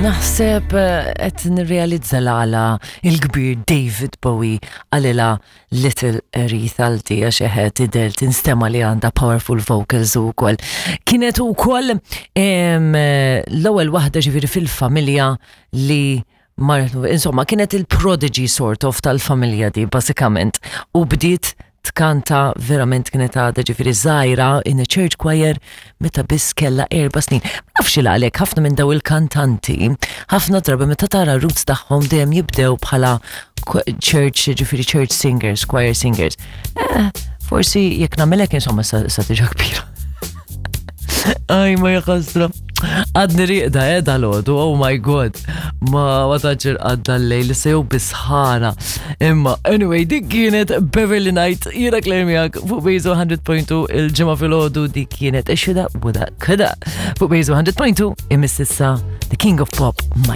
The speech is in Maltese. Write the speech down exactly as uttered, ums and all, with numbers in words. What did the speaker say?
Naħseb eh, qed nirrealizza l-għala il-kbir David Bowie qalilha Little Aretha Alti, għax eħe tidher, tinstema li għandha powerful vocals u koll. Kienet u koll l-ewwel waħda ġifieri fil-familja li marret, insomma, kienet il-prodigy sort of tal-familja di, basikament. U bdiet tkanta verament kienet għadha ġifieri żgħira in a church choir meta biss kella erba' snin. Ma nafx il għalek ħafna minn daw il-kantanti, ħafna drabi meta tara roots tagħhom dejjem jibdew bħala church, ġifieri church singers, choir singers. Eh, forsi jekk nagħmelek, insomma, sa, sa tiġa kbira. Aj, ma jaħasra. Għadni rieqda, eh, dal-għodu, oh my God. Ma ma taċir għadda l-lejl, se jew bisħana. Imma, anyway, dik kienet Beverly Knight, jiena Claire miegħek fuq Bejzu mija punt tnejn il-Ġimgħa filgħodu, dik kienet Shoulda, Woulda, Coulda. Fuq Bejzu mija punt tnejn imiss issa The King of Pop,